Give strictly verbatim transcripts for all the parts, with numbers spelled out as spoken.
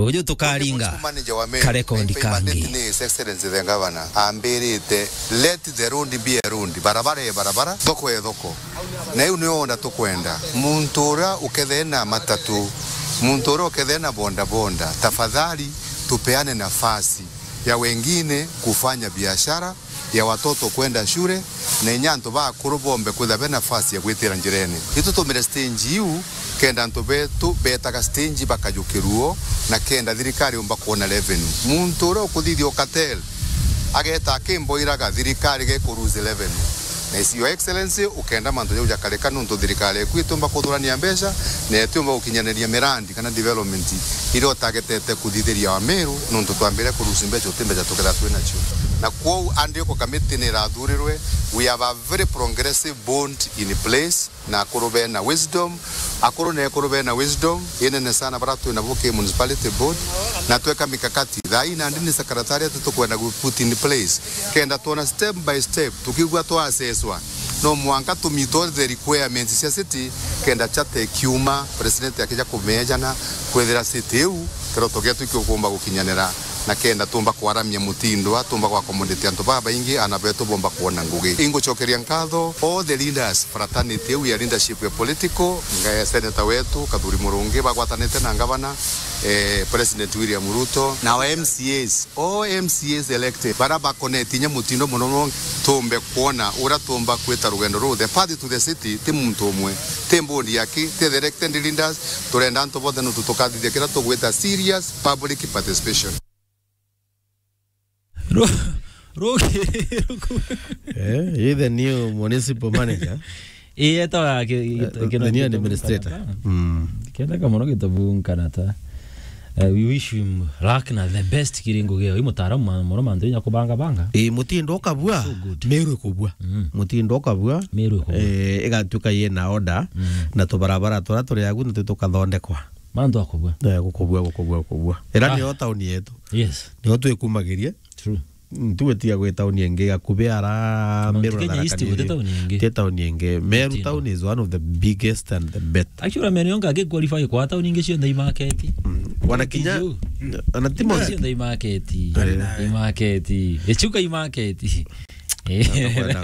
Uju tukaringa. Municipal manager wa Meru, ka record na impe mandate kangi. Ni His Excellency the Governor ambirite, "Let the road be a road, barabara e barabara, thoko e thoko." Na iu nio onda tukwenda. Muntu uria ukethee na matatu, muntu uria ukethee na boda boda, tafadhali tupeane nafasi ya wengine kufanya biashara, ya watoto kwenda shule, na inya antu bakuru bombe kwithirwa be nafasi ya gwitira njirene. Itutumire stage iu kenda antu betu betaga stage bakajukiruo na kenda thirikari yumba kwona revenue. Muntu uria ukuthithia ukatel ageta akimboiraga thirikari geku lose revenue. Na Your Excellency, ukenda mantu jau jakarika nuntu thirikari eku itiumba kuthurania mbeca na itiumba gukinyaniria mirandi kana development iria utagetete kuthithiria Ameru, nuntu twambire kurusi mbeca uti mbeca tukethira twi nacio. Na kwou Andiko Committee ni irathurirwe, we have a very progressive board in place, na akuru bena wisdom, akuru na ekuru bena wisdom inene sana bara twi nabo ki municipality board, na tweka mikakati. Thaa ii nandi ni secretariat tukwenda gu put in place, kenda twona step by step, tukigua twaseswa, no mwanka tu meet all the requirements cia city, kenda charter ikiuma, president akija kumeejana, kwithira city iu kiroto gietu kiukumba gukinyanira, na kenda tumba kwaramia mutindo a tumba gwa accommodate antu babaingi, ana betu bomba kwona ngugi. Ingucokeria nkatho all the leaders, fraternity iu ya leadership ya political, nga ya senator wetu Kathuri Murungi bagwatanite na ngavana, eh, President William Ruto, na our M C As, all M C As elected, bara bakoneti inya mutindo muno muno, tumbe kwona uria tumba kwita rugendo ruu. The path to the city ti muntu umwe, ti board ya ki, ti the elected leaders, turenda antu bonthe nuntu tukathithia kiria tugwita serious public participation. Ru-, ruki-, ruku-, Eh, you the new municipal manager. Ii, etawa ki-, Eh, gita-, the kina new gita-, administrator. Mm. Kendeka mono gitabu nkanata. Eh, we wish him luck na the best kiri ngugi iyo. I mutaaramu ma-, mono mantu inya kubanga banga. Ii, mutindo ukabua. So good. Meru ikubua. Mm. Mutindo ukabua. Meru ikubua. Eh, igatuika yina order. Mm. Na tubarabara turia turi agu nitwo tukathondekwa. Mantu akubua. Eh, gukubua, gukubua, gukubua. Ira Ah. niyo tauni yetu. Yes. Niyo twikumagiria. True. Mm, tuwe tiga gwi tauni ingi, gakubi ara Mount Meru na Kenya Tharaka East Nithi. Guti tauni ingi. Ti tauni ingi. Meru Mutino. Town is one of the biggest and the best. Actually, Meru yonka aki qualify kwa tauni ingi cionthe i market. Mm. Wana kinya, Tiju. Ana ti Mount Cionthe i market. Eh. I market. Ichuka i market. Eh. Atakwenda,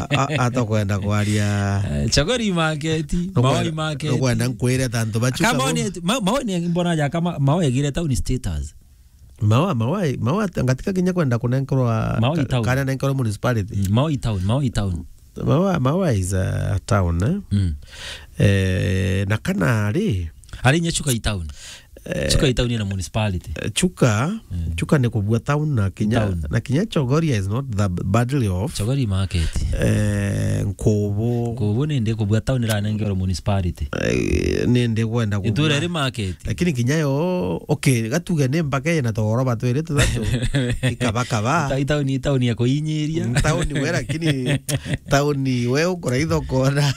a-, a-, atakwenda kwaria. Eh, Chagori i market. Nukwenda, Mawa i market. Nukwenda nkwire ta antu bachuka Kama bo- ni, ma-, Mawa ni mbona ja kama Mawa egire town status. Mawa, Mawa, Mawa, ngatika kinya kwenda kunenkerwa Mawa ka-, i town. Kana nenkerwa municipality. Mm, Mawa i town, Mawa i town. Mawa, Mawa is a town, eh? Mm. Eh, na kana ari? Ari nya Chuka i town. Eh, Chuka i town na municipality. Eh, Chuka, Mm. Chuka ni kubua town na kinya, Town. Na kinya Chogoria is not that badly off. Chogoria market. Eh, Nkubu. Nkubu ni ndi kubua town iranengerwa municipality. Eh, ni ndi kwenda kubua. Itura ri market. Lakini kinya yo, okay, gatuge ni mpaka ina togoroba twiri tuthatu. Ikaba kaba. Ita-, itauni, itauni ya kuinyiria. Mm, tauni we, lakini tauni we ukora ithoko na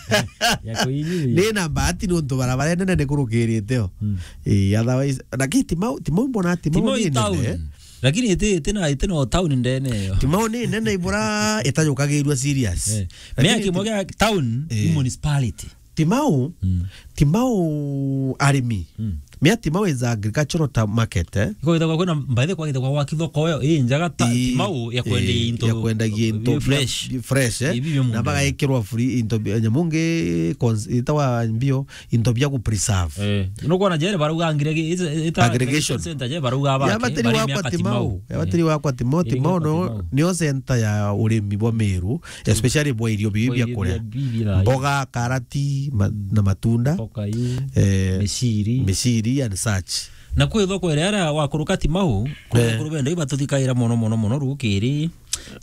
Ya kuinyiria. Ni na bahati nuntu barabara nene ni kurukirite o. Mm. Eh, otherwise, lakini Timau, Timau mbona Timau Timau ni i town. Nene. Lakini iti, iti na, iti no town ndene yo. Timau ni nene ibura itajukagirua serious. Eh. Lakini Mea kimwe kia town Eh. i municipality. Timau, Mm. Timau arimi. Mm. Mea Timau is agricultural ta-, market, eh? Iko githagwa kwina, by the way, kwa githagwa gwa kithoko yo, ii njaga ta, Ii, Timau ya kwendia ii, into ya kwendagia into ii, fresh. Bia, fresh, eh? Ii, bia Na mundu. Bagaikirwa free into bia, nyamu ngi cons-, itawa mbio, into bia ku preserve. Eh, nukwona jere barauga ngiregi-, ita-, ita-, Aggregation. Center je barauga Ya bake, batiri bari wakwa miaka Timau. Timau. Ya batiri wakwa Timau, Iri Timau wakwa no, Timau. Nio center ya urimi bwa Meru. Especially bwa irio bibi Bwa bia irio kuria. Bia, bia, bia. Mboga, karati, ma-, na matunda. Mboga iu, Eh, miciri. Miciri and such. Na kwi thoko iria, iria wakuruka Timau, kwi Eh. Akuru benda ibatuthikaira mono, mono, mono rukiri.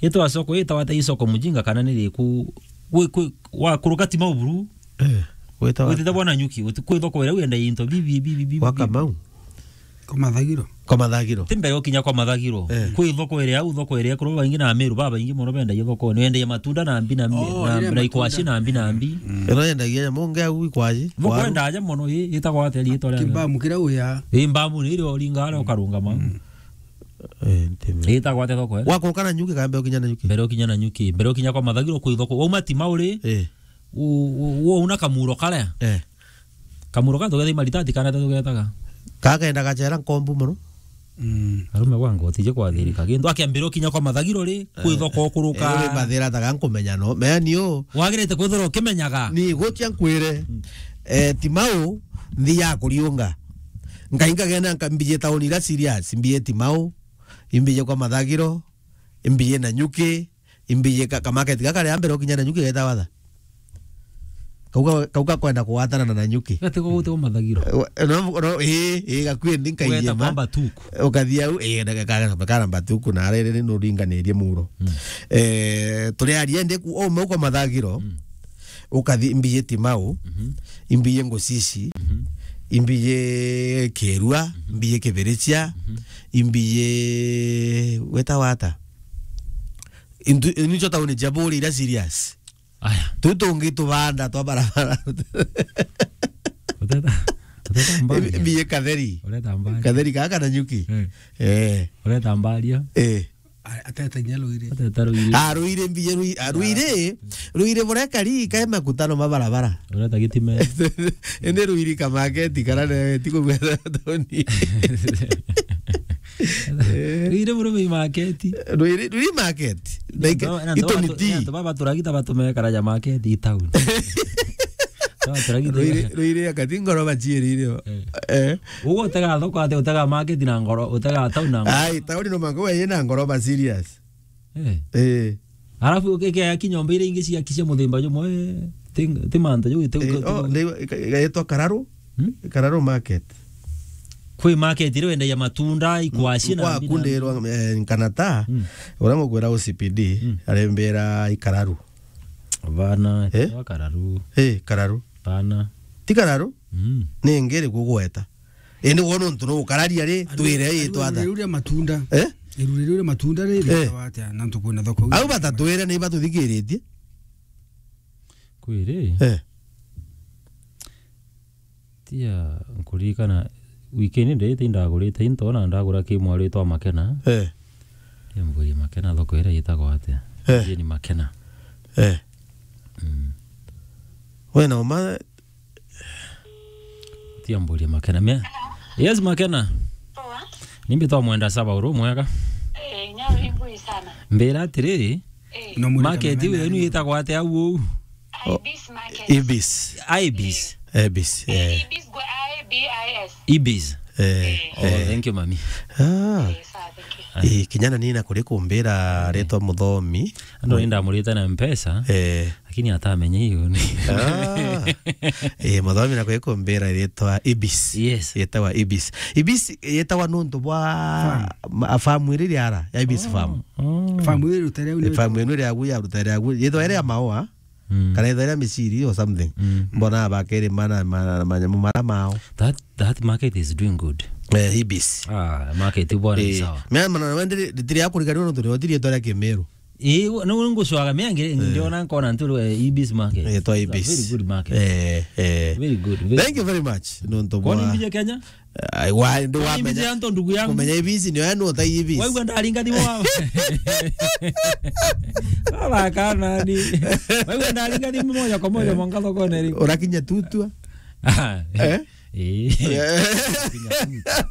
Itwa soko, itawata isoko mujinga kana ni riku, kwi, kwi, wakuruka Timau buru. Eh, wita wa Witite bwana nyuki, uti-, kwi thoko iria wenda into bibi, bibi, bibi, Wa bibi. Kamau. Kwa Mathagiro. Kwa Mathagiro. Ti mbere ukinya kwa Mathagiro. Eh. Kwi thoko iria au, thoko iria kuru baingi na Meru babaingi mono bendagia thoko. Ni wendagia matunda na mbi na mbi, Oh, na, ire na ikwaci matunda. Na mbi na mbi. Mm. Ino yendagia nyamu nge au ikwaci. Thoko Waru. Endagia mono, i-, itagwa atia riitwa ria Kimbamu kiria uya. I mbamu ni irio ringa aria ukarungama. Mm. Eh, nti mbe. Itagwa atia thoko, eh? Wakuruka na nyuki kana mbere ukinya na nyuki? Mbere ukinya na nyuki. Mbere ukinya kwa Mathagiro kwi thoko. Wauma Timau ri? Eh. U-, u-, wauna kamuro karia? Eh. Kamuro ka tugeta imaritati kana tugetaga? Kagenda gachera nkombu mono. Mm. Arume gwa ngoti je kwathirika gintu. Akiambirwo kinya kwa mathagiro ri, kwithoko kuruka. Eh, ri mathira taga nkumenya no. Mea ni u. Wagirite kwithirwa ukimenyaga. Ni gutia nkwire. Mm. Eh, Timau, nthi ya kuriunga. Ngai nkagenda nkambije tauni ira serious, mbije Timau, imbije kwa mathagiro, imbije Nanyuki, imbije ka, kamaketi gaka ria mbere ukinya Nanyuki geta watha. Kauka, kauka kwenda kuwatana na Nanyuki. Gati ko gute umathagiro. Eh, wa-, no, no, ii, ii, gakui ndi nkaiyema. Ugeta kwamba tuku. Ukathi au, ii, ndagika kana, kana mbatuku na arere ni nuringanirie muro. Mm. Eh, turi aria ndi ku, o mauko mathagiro. Mm. Ukathi imbije Timau, mhm, imbije Ngusisi, mhm, imbije Kirua, mhm, imbije Kibirichia, mhm, imbije weta wata. Intu, nicho tauni cia buri ira serious. Aya. Tu tungi tubanda twa barabara. Uteta, uteta mbali. Mbiye Katheri. Ureta mbali. Katheri kaka Nanyuki. Eh. Eh. Ureta mbali. Eh. A-, ateta inya Ruiri. Ateta Ruiri. Ah, Ruiri mbiye Ruiri. Ah, Ruiri. Ruiri burekari kae makutano ma barabara. Ureta gitime. Ende Ruiri kamaketi kara ne ti kugwetha tauni. Ruiri buru mi maketi. Ruiri, Ruiri market. Like, ito ni ti. Antu baba turagita batumekara ja market i town. Baba turagita. Ruiri, Ruiri akati ngoroba ciiri irio. Eh. Eh. Ugo utega thoko ate, utega market na ngoro, utega town na ngoro. Ai, town no mango we na ngoroba serious. Eh. Eh. Alafu ukeke ya kinyomba ire ingi cia kicia muthimba jumwe, eh, ti, ti mantu ju, ti, eh, ti, oh, ti, ndio, ika-, ikaitwa Kararu. Hmm? Kararu market. Kwi market ire wendagia matunda, ikwaci na kwa mbi na kundirwa, eh, nkanata, hmm, uria ngukwira O C P D, hmm, arembera i Kararu. Bana, eh? Wa Kararu. Eh, Kararu. Bana. Ti Kararu? Mm. Ni ngiri kugweta. Indi wona untu no ukararia ri, twire i twatha. Iru ria matunda. Eh? Iru ria matunda ri, eh, ritagwa atia? Na ntu kwina thoko. Au batatwire ni batuthikiritie. Kwiri? Eh. Tia nkuririkana wikendi nditi ndagurite into na ndagura kimwaritwa Makena. Eh. Tia mburie Makena thoko iria itagwa atia? Eh. Jeni Makena. Eh. Mm. We na uma Tia mburie Makena. Me-, yes, Makena. Poa. Nimbi twa mwenda saba uru mwega. Eh, nyau imbui sana. Mbira atiri, eh, no mwende market kamenana yenu yenu itagwa atia au uu? Ibis market. Ibis. Ibis. Eh. Ibis, eh, eh. Ibis go-, I B I S. Ibis. Eh, eh. Oh, eh, thank you, mami. Ah. Eh, sawa, thank you. Eh, kinyana nina kuri kumbira, eh, ritwa Muthomi. Ando ninda murite na mpesa. Eh. Lakini atamenya hiyo ni. Ah. Eh, Muthomi na kuri kumbira ritwa Ibis. Yes. Yetawa Ibis. Ibis yetawa nuntu bwa farm. Ma-, farm iri riara ya Ibis farm. Oh. Farm iri rutere uni. Eh, farm ino iri agu ya rutere agu. Yetawa iri ya maua. Mm. Kana ithwa iria miciri or something. Mm. Mbona bakirima na ma-, manyamu mara mao. That, that market is doing good. Eh, Ibis. Ah, market bwana ni, eh, sawa. Mea mana wende ritiri ya kurigania nontu ritiri yetwa ria Kimiru. Eh, no ngucwaga mea ngire, eh, ndiona nkona ntu, eh, Ibis market. Eh, twa Ibis. It's a very good market. Eh, eh. Very good, very good. Thank you very much. Nontu bwa. Kwani mbije Kenya? Ai, wa, ndi wamenya. Ni mbizi ya nto, ndugu yangu. Kumenya ibizi ni wewe utai ibizi. Waigua ndaringa thimu wa. Baba kana ni. Waigua ndaringa thimu moja kwa moja mwangaza kwa neri. Urakinya tutua. Ah, eh? Eh. Eh. Urakinya tutua.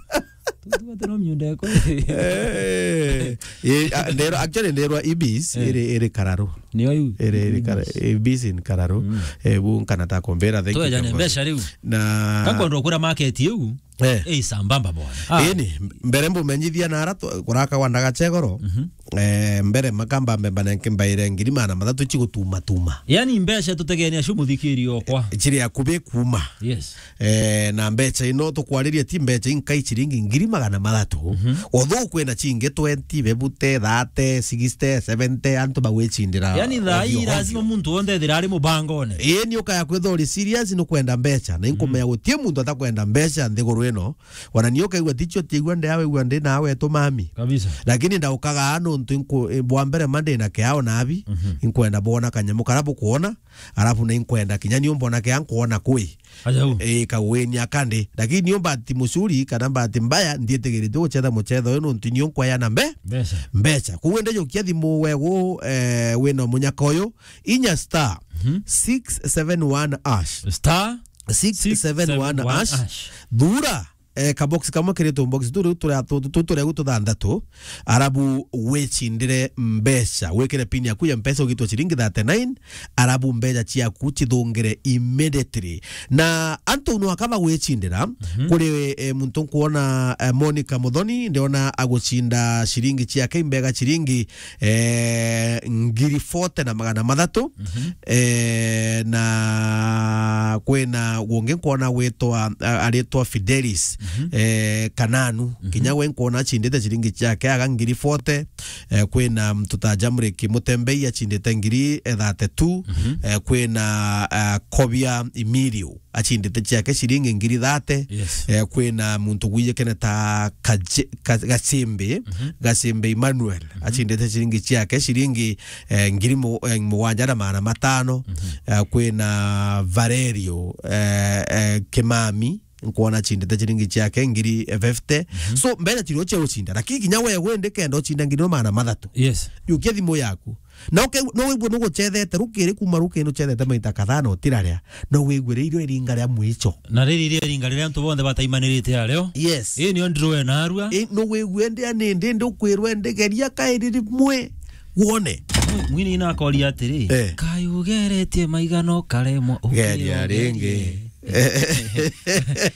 Tutua tena miunda yako. Eh. Eh, ah, ndero, actually, ndero ibis, eh, iri, iri Kararu. Ni oyu. Iri, iri Kara-, ibis. Ibis in Kararu. Mm. Eh, bu nkana ta kumbira, thank you. Twejane mbeca riu. Na. Kakwenda kura market iu. Eh. Ii, sambamba bwana. Ah. Ini, mbere mbumenyithia na ara tu-, kuraka kwa ndaga chegoro. Mhm. Eh, mbere makamba mbemba nenke mbaire ngiri magana mathatu chigutuma tuma. Yani mbeca tutegenia cio muthikiri okwa. Eh, chiri akubi kuma. Yes. Eh, na mbeca ino tukwariria ti mbeca inkai chiringi ngiri magana mathatu. Mhm. Although kwina chingi twenty, bebute, thirty, sixty, seventy, antu bagwichindira. Yani thaa ii ovyo ovyo. Lazima muntu wonthe ethira ari mubangone. Ii, ni ukaya kwithwa uri serious, ni kwenda mbeca. Na inkumenya, mhm, gutie muntu atakwenda mbeca nthiguru ino. Wana ni ukaigua ticho tiigua ndi awe igua ndi nawe tu mami. Kabisa. Lakini ndaukaga nontu inku-, bwa mbere ma ndi na kiao nabi, mhm, inkwenda bwona kanyamu kara bukuona, alafu na inkwenda kinya ni umbona kia nkuona kwi. Aja u. Eh, kagwini akandi. Lakini ni umbati mucuri kana mbati mbaya, ndietigiritwe gucetha mucetho uyu nontu ni unkwea na mbe-, mbeca. Mbeca. Koguo ndejukia thimu wegu, eh, wina munyaka uyu, inya star, mhm, six seven one hash. Star six seven one hash. Six seven one hash. Thura. eh, kabox kamwe kiritwe box tu riu turia tu, tu, turia tuthanthatu, arabu wicindire mbeca, wikire pin yaku ya mpesa ugitwa ciringi thirty-nine, arabu mbeca ciaku cithungire immediately. Na antu no akaba gwicindira, mhm, kuri, eh, muntu nkuona, eh, Monica Muthoni, ndiona agucinda ciringi ciake imbega ciringi eh, ngiri forty na magana mathatu. Mhm. Eh, na kwina gungi nkwona gwitwa, a-, aritwa Fidelis, mhm, eh, Kananu. Mhm. Kinya we nkwona acindite ciringi ciake aga ngiri forty. Eh, kwina mtu ta Jamrick Mutembei acindite ngiri, eh, thirty-two. Mhm. Eh, kwina, eh, Kobia Emilio acindite ciake ciringi ngiri thate. Yes. Eh, kwina muntu gwijikene ta Kaje-, Ka-, Gacimbi, mhm, Gacimbi Emmanuel, mhm, acindite ciringi ciake ciringi, eh, ngiri mu-, eh, mugwanja na magana matano. Mhm. Eh, kwina Valerio, eh, eh, Kimami, nkwona acindite ciringi ciake ngiri, eh, fifty. Mhm. So, mbeca cirio cia ucinda. Lakini kinya we wende kenda ucinda ngiri magana mathatu. Yes. Jukia thimu yaku. Na uke-, no wigwe nugucethete rukiri kuma rukiri nucethete maita kadhaa na utiraria. No wigwe riria iringa ria mwicho. Na riri iria iringa riria antu bonthe bataimanirite ario. Yes. Ii nio ndirwe narua. Ii, no wigwe ndi ani ndi ndi ukwirwe ndi geria kairi rimwe wone. Mwi-, mwini ina akoria atiri, eh, "Kai ugeretie maigano karemwa geria ringi." Ukirogerie.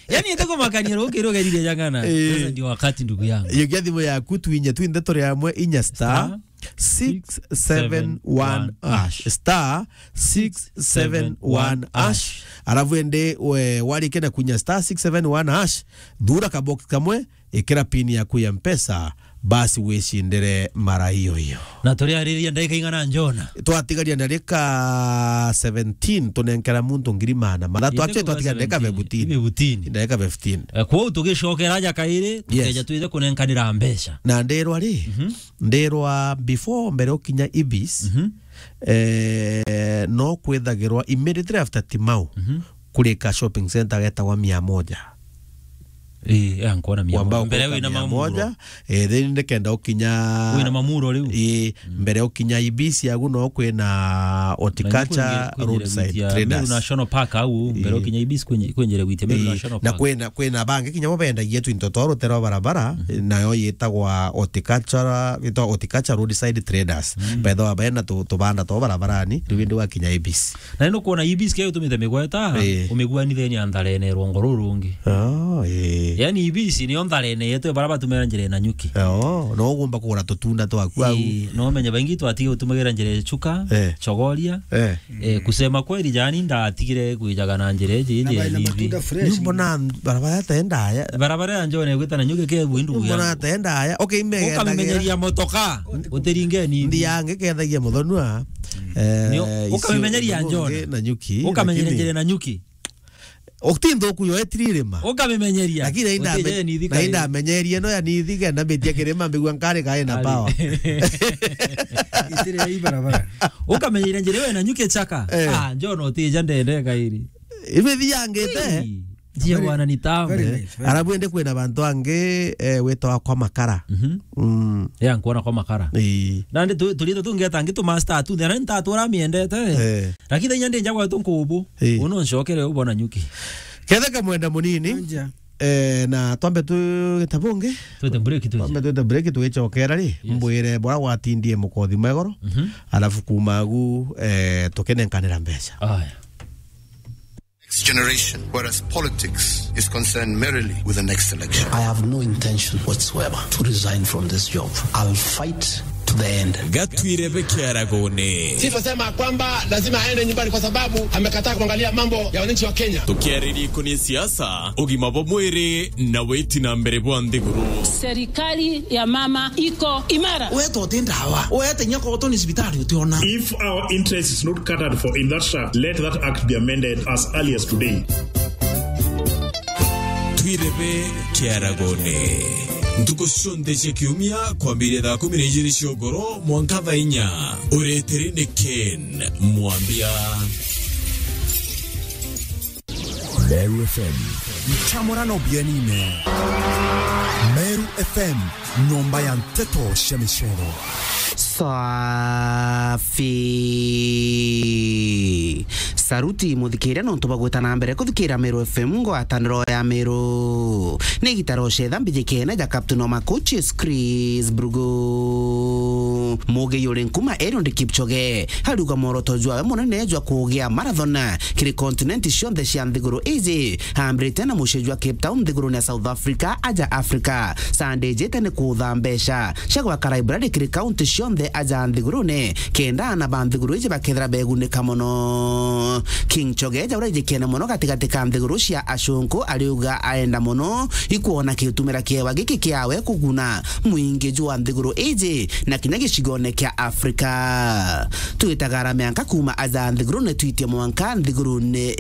Yani, ite kumakania rukiri ugerire jangana. Eh. Sasa ndio wakati, ndugu yangu. Jukia thimu yaku twinye twinthe turi amwe inya star star six seven one hash. Star six seven one hash. Alafu ende we, warike na kunya star six seven one hash, thura kabox kamwe, ikira pin yaku ya mpesa, basi wicindire mara iyo iyo. Na turiariria ndagika ing'ana, Njona? Twatigaria ndagika seventeen, tunenkera muntu ngiri magana mathatu. Actually, twatigaria ndagika fifteen. Fifteen. Ndagika fifteen. Eh, kwou tugicokera aja kairi, yes, tukeja twithe kunenkanira mbeca. Na ndirwa ri, mhm. Ndirwa before, mbere ukinya Ibis, mhm, eh, no kwithagirwa immediately after Timau, mhm, kuri ka shopping center getagwa Mia Moja. Ii, ya nkuona Mia Moja. Mbere wina Mia Moja, eh, then ndikenda ukinya wina Mamuro riu. Ii, mm, mbere ukinya Ibis agu no kwina Horticulture Roadside Traders. Meru National Park au, mbere ukinya Ibis kwenye, kwenye gwitia Meru National Park. Na kwina, kwina bangi kinya bo bendagia twinto twa rutere rwa barabara, mhm, nayo yitagwa Horticulture, yitagwa Horticulture Roadside Traders. Mm. Bethagwa bena tu-, tubanda twa barabarani, riu indi wakinya Ibis. Na ni nukwona Ibis kio utumite migweta, ii, umiguanithenie na ntharene rwongo ruru rungi. Oh, ii. Yani Ibis nio ntharene yetu bara batumira njira ya Nanyuki. Oh, no ugumba kugura tutunda twaku au. Ii, no umenye baingi twatige gutumagira njira ya Chuka, eh, Chogoria, eh. Eh, kusema kweli, jani ndatigire kwijaga na njira iji, na njira baina matunda fresh. Mbona barabara ta ndaya? Barabara ya Njone gwita Nanyuki ke bu ndugu yangu. Mbona ta ndaya? Okay, ime ukamemenyeria motoka, utiringe ni. Ndi yange kethagia muthonua. Eh, nio, ukamemenyeria Njone. Nanyuki, ukamemenyeria lakini njira Nanyuki. Uti nthuku yo etiri irima. Ukamimenyeria. Lakini nainda uti me-, je nithi nainda kai. Menyerie no ya nithi kenda mbitie kirima mbigua nkari kai na power. Itire ya ibarabara. Ukamenyeria njira we Nanyuki Chaka. Eh. Ah, Njone utija ndende kairi. Ibe thiangite. Hey, njia very, bwana ni tamu. Very nice, very nice. Arabu ende kwina bantu angi, eh, witwa kwa makara. Mhm. Mm. Ya nkuona kwa makara. Ii. Nandi tu-, turito tungi atangi tu master tu, thera ntatura miendete. Eh. Lakini inya ndi njagwa tu nkubu. Ii. Uno ncokere ubo Nanyuki. Kethe kamwenda munini. Anja. Eh, na twambe tu gitabungi. Twete break tu. Twambe twete break tugicokera ri. Yes. Mbwire bora gwatindie mukothi mwegoro. Mhm. Alafu kuma agu, eh, tukinenkanira mbeca. Aya. Next generation, whereas politics is concerned merely with the next election. I have no intention whatsoever to resign from this job. I'll fight to the end. Gatwire bekiaragone. Sifa sema kwamba lazima aende nyumbani kwa sababu amekataa kuangalia mambo ya wananchi wa Kenya. Tukiaririria ikoni siasa, ugima bwa mwiri na witi na mbere bwa nthiguru. Serikali ya mama iko imara. Weta uti ndawa. Weta inya koto ni cibitari utiona. If our interest is not catered for in that shaft, let that act be amended as early as today. Twirebe kiaragone. Ntuku cionthe cia kiumia kwambiria thaa kumi na ijiri cia ugoro mwanka thaa inya. Ureteri ni Ken Mwambia. Meru F M. Nchamurano bienine. Meru F M, nyomba ya nteto cia micero. Safi. Saruti muthikiria nontu bwa gwita na mbere kuthikiria Meru F M, ngwataniro ya Meru. Ni igita rocetha mbijikene ja captain wa ma coaches Chris Brugo. Mugi yuri nkuma Eliud Kipchoge ariuga mworoto jwawe munene jwa kugia marathon kiri continent cionthe cia nthiguru iji, ambirite na mucii jwa Cape Town nthigurune ya South Africa, aja Africa. Sande ijite ni kutha mbeca cia gwaka library kiri kaunti cionthe aja nthigurune, kenda aana ba nthiguru iji bakethira begunika mono. King Chogeja uria ijikene mono gatigati ka nthiguru cia acunku ariuga aenda mono ikwona kiutumira kiewa giki kiawe kuguna mwingi jwa nthiguru iji na kinya gicigone kia Afrika. Twitaga arame anka kuma aja nthigurune twitie mwanka nthigurune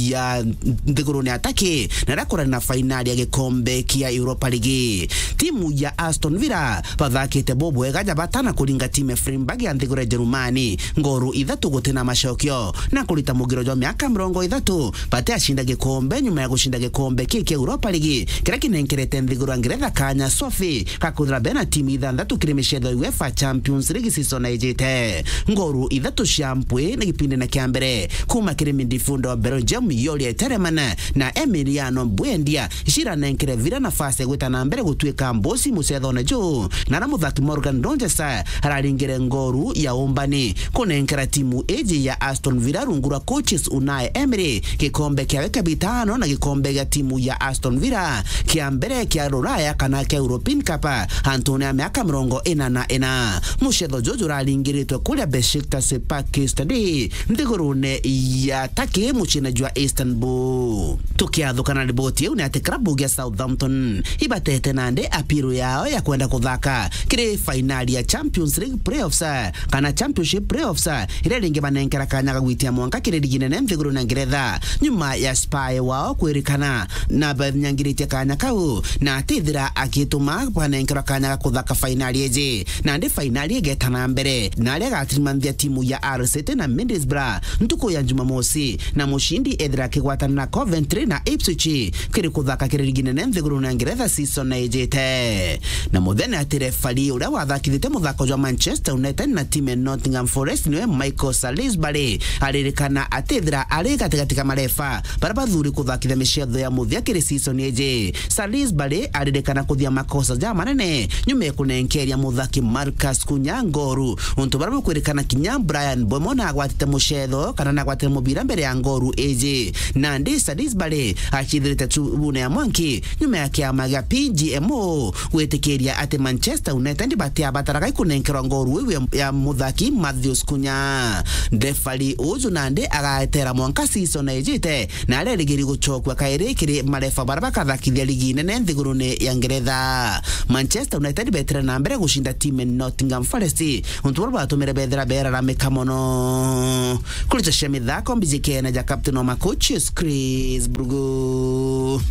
ya, nthigurune ya Turkey, na rakurani na fainali ya gikombe kia Europa League. Timu ya Aston Villa bathakite bubwega ja batana kuringa timu ya Freiburg ya nthiguru ya Jerumani ngoru ithatu guti na macokio, na kurita mugiro jwa miaka mirongo ithatu batiacinda gikombe nyuma ya gucinda gikombe kii kia Europa League, kiria kinenkerete nthiguru ya Ngeretha kanya swafi ga kwithira bena timu ithanthatu kiri micetho ya UEFA Champions League season ijite. Ngoru ithatu cia mpwi ni gipindine kia mbere kuma kiri midfielder wa Belgium Youri Tielemans na Emiliano Buendia ciranenkere Villa nafasi ya gwita na mbere gutuika mbosi mucethone juu, na ara muthaki Morgan Rogers araringire ngoru ya umbani kunenkera timu iji ya Aston Villa rungu rwa coaches Unai Emery gikombe kiawe kia bitano na gikombe gia timu ya Aston Villa kia mbere kia Ruraya kana kia European Cup antune ya miaka mirongo ina na ina. Mucetho juju uraringiritwe kuria Besiktas Park Stadium nthigurune ya Turkey muciine jwa Istanbul. Tukiathukana riboti iu ni ati klabu gia Southampton ibatete nandi appeal yao ya kwenda kuthaka kiri fainali ya Champions League playoffs kana Championship playoffs, iria ringi banenkera kanya ga gwitia mwanka kiri ligi nene nthigurune ya Ngeretha nyuma ya spy wao kwirikana na banyangiritie kanya kau na atithira akituma banenkerwa kanya ga kuthaka fainali iji. Nandi fainali igeta na mbere na aria agatirimanthia timu ya Hull City na Middlesbrough ntuku ya Jumamosi, na mucindi ethira akigwatana na Coventry na Ipswich kiri kuthaka kiri ligi nene nthigurune ya Ngeretha season ijite. Na muthenya ati refari uria wathakithite muthako jwa Manchester United na timu ya Nottingham Forest niwe Michael Salisbury aririkana atithira ari gatigati ka marefa baria bathuri kuthakithia micetho ya muthia kiri season iji. Salisbury aririkana kuthia makosa ja manene nyuma ya kunenkeria muthaki Marcus Cunha ngoru, untu buria bukwirikana kinya Bryan Mbeumo nagwatite mucetho kana nagwatire mubira mbere ya ngoru iji. Nandi Salisbury acithirite tubune ya mwanki nyuma ya kiama gia P G M O gwitikiria ati Manchester United batiabataraga ikunenkerwa ngoru iu ya, ya muthaki Matheus Cunha. Refari uju nandi agatera mwanka season ijite na arerigiri gucokua kairi kiri marefa baria bakathakithia ligi nene nthigurune ya Ngeretha. Manchester United betire na mbere gucinda timu ya Nottingham Forest, untu buria bwatumire bethira beraramika mono. Kuri cia mithako mbijikene ja captain wa ma coaches Chris Brugo.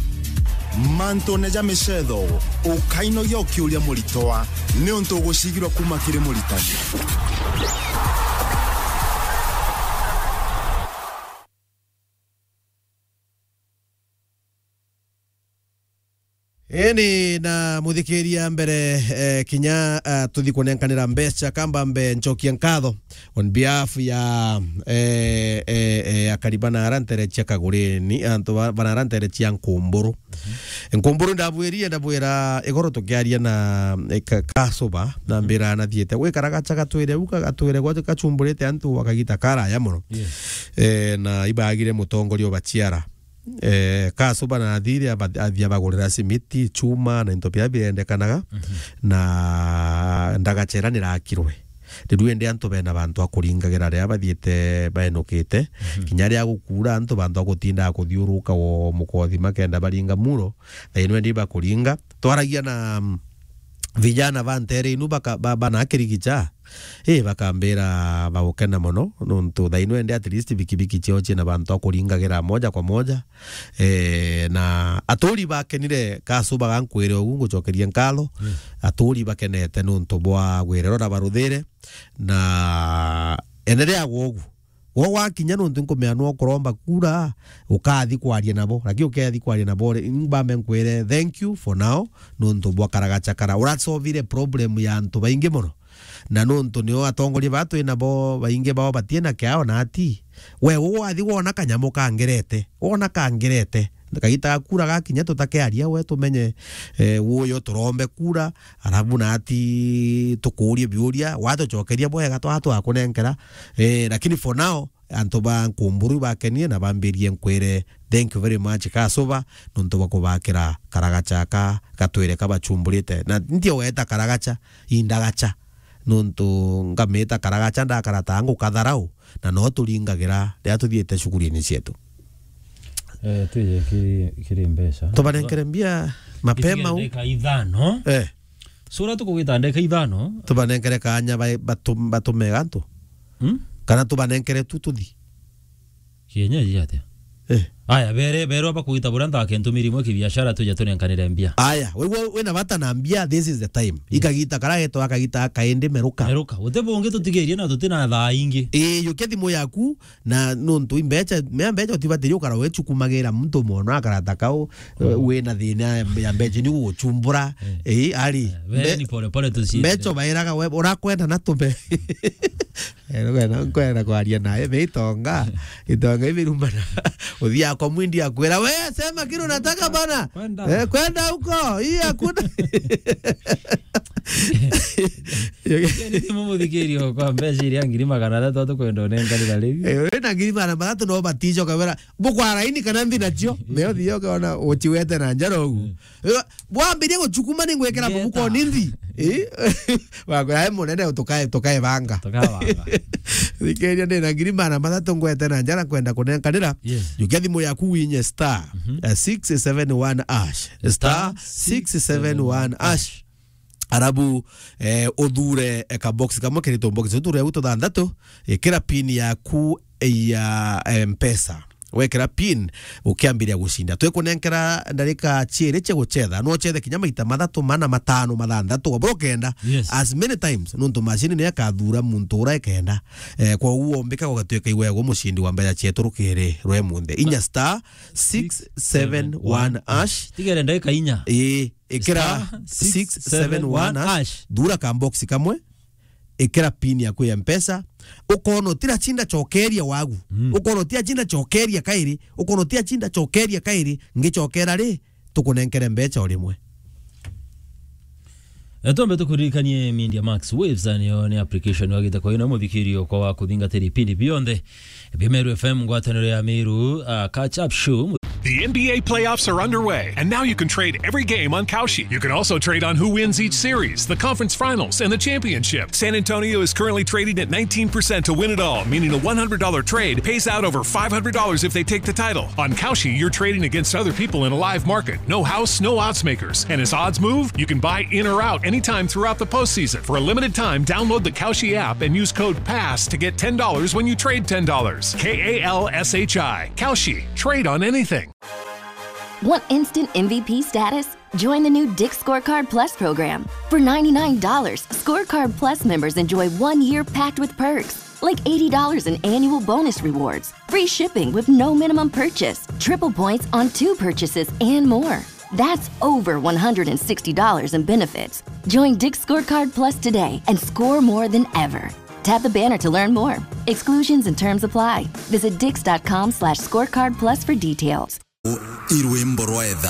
Mantune ja micetho, ukainogia ukiuria muritwa, niuntu ugucigirwa kuma kiri muritani. Ini na muthikiria mbere, eh, kinya, ah, tuthi kunenkanira mbeca, kamba mbe ncokie nkatho on behalf ya, eh, eh, eh, akari bana ara ntere cia Kagureni, antu ba-, bana ara ntere cia Nkumburu. Nkumburu ndabwirie, ndabwira igoro tukiaria na, eh, ka-, Kasuba, na mbira anathiete gwikara gacha gatwire u ka-, gatwire gwa gachumburite antu akagita karaya mono. Yes. Eh, na ibagire mutongoria ubaciara. Eh, Kasuba na athire aba-, athia bagurira simiti, chuma na into biria birendekanaga, na ndagachera nirakirwe. Riu indi antu bena bantu a kuringagira riria bathiite baenukite, kinya riria gukuura antu bantu a gutindaga kuthiuruka o mukothi makenda baringa muro, thaino indi bakuringa. Twaragia na, mm, vijana ba ntere inu baka-, ba-, bana kirigicha, ii, bakambira bagukena mono, nontu thaino indi at least bikibiki ciao ciina bantu a kuringagira moja kwa moja. Eh, na aturi bakenire, Kasuba gankwire ugu ngucokerie nkatho. Aturi bakenete nontu bwa gwirero na baruthire, na enderea gwa ugu. Gwo gwakinya nontu nkumea nwo kuromba kura, ukathi kwaria nabo, lakini ukethi kwaria nabo ri, mbambe nkwire thank you for now, nontu bwa karagachakara. Urasovire problem ya antu baingi mono. Na nontu nio atongoria baa twi nabo, baingi bao batina kiao na ati. We, u wathi wona kanyamu kangerete, wona kangerete, kagita ga kura gakinya, tutakiaria we tumenye, eh, uyo turombe kura, arabu na ati tukuurie biuria, watucokeria bwega, twa-, twakunenkera. Eh, lakini for now, antu ba Nkumburu bakenie na bambirie nkwire, "Thank you very much, Kasuba, nontu bwa kubakira karagacha aka gatwire kabachumburite." Na nti ugeta karagacha, indagacha, nontu ngamita karagacha ndakara ta ngukatharau, na no turingagira riria tuthiite shughulini cietu. Eh, twije kiri, kiri mbeca. Tubanenkere mbia mapema u. Ndagika ithano. Eh. Sura tukugita ndagika ithano. Tubanenkere kanya ba-, batu-, batume gantu. Hmm? Kana tubanenkere tu tuthi. Kienyeji atia? Eh. Aya, bere, bere bakugita buria ntake ntumiri imwe kibiashara, tuje tunenkanire mbia. Aya, we, we, wina bata na mbia, this is the time. Yes. Ikagita kara getwa akagita akaindi meruka. Meruka. Uti bungi tutigirie na tutina thaa ingi. Ii, yukia thimu yaku, na nontu imbecha, mea mbecha utibatirie ukara wechukumagira muntu mono akarata kau, mm, wina thina ya, ya mbecha ni guguchumbura. Eh. Ii, ari. Eh, we mbe-, ni pole pole tuciite. Mbecha ubairaga we, urakwenda na tume. Eh, nkwenda, nkwenda kwaria nawe, me itonga. Itonga ibirumana. Uthiaga kwa mwindi akwira, "We, sema kile unataka bana." Kwenda. Eh, kwenda huko. Hii hakuna. Ni thimu muthikirio kwa mbeca iria ngiri magana athatu atukwenda unenkanira riu. Eh, uri na ngiri magana athatu no baticoka wera, "Bukwa raini kana nthi nacio?" Meo thiyo kona uchiwete na njara ugu. Mm. Eh, bwambirie guchukuma ni ngwikira mabuko ni nthi. Eh? Wakwira, "Ai munene, tukae, tukae banga." Tukae banga. Thikiriria, ndina ngiri magana mathatu ngwete na njara nkwenda kunenkanira. Yes. Jukia thimu yaku winye star, mhm, eh, six seven one hash. Star six seven one hash. Arabu, eh, uthure, eh, ka box kamwe kirito box. Uthure utu thanthatu, ikira pin yaku ya, eh, Mpesa. Wekira pin, ukiambiria gucinda. Twikunenkera ndarika ciiri cia gucetha. No uchethe kinya maita mathatu, mana, matano, mathanthatu, wabura ukenda. Yes. As many times, nontu macini niyo ikathura muntu uria ikenda. Eh, kwa uguo umbika gugatuika iwe gwe mucindi wa mbeca cietu rukiri rwe munthe. Inya star six seven one hash. Tigere ndagika inya. Ii, ikira star six seven one hash. Thura ka box kamwe. Ikira pin yaku ya Mpesa, ukona utira chinda chokeria wagu. Mm. Ukona utira chinda chokeria kairi, ukona utira chinda chokeria kairi, ngichokera ri, tukunenkere mbecha o rimwe. Eh, twambe tukuririkanie Media Max Waves, niyo ni application wagite kwa ino muthikirio kwa wa kuthingatira ipindi bionthe bia Meru F M, ngwataniro ya Meru, uh, Catch Up Show. The N B A playoffs are underway, and now you can trade every game on Kalshi. You can also trade on who wins each series, the conference finals, and the championship. San Antonio is currently trading at nineteen percent to win it all, meaning a one hundred dollar trade pays out over five hundred dollars if they take the title. On Kalshi, you're trading against other people in a live market. No house, no odds makers. And as odds move, you can buy in or out anytime throughout the postseason. For a limited time, download the Kalshi app and use code pass to get ten dollars when you trade ten dollars. K A L S H I. Kalshi. Trade on anything. Want instant M V P status? Join the new Dick's Scorecard Plus program. For ninety-nine dollars, Scorecard Plus members enjoy one year packed with perks, like eighty dollars in annual bonus rewards, free shipping with no minimum purchase, triple points on two purchases, and more. That's over one hundred and sixty dollars in benefits. Join Dick's Scorecard Plus today and score more than ever. Tap the banner to learn more. Exclusions and terms apply. Visit dicks dot com slash scorecard plus for details. I rwimbo rwa etha.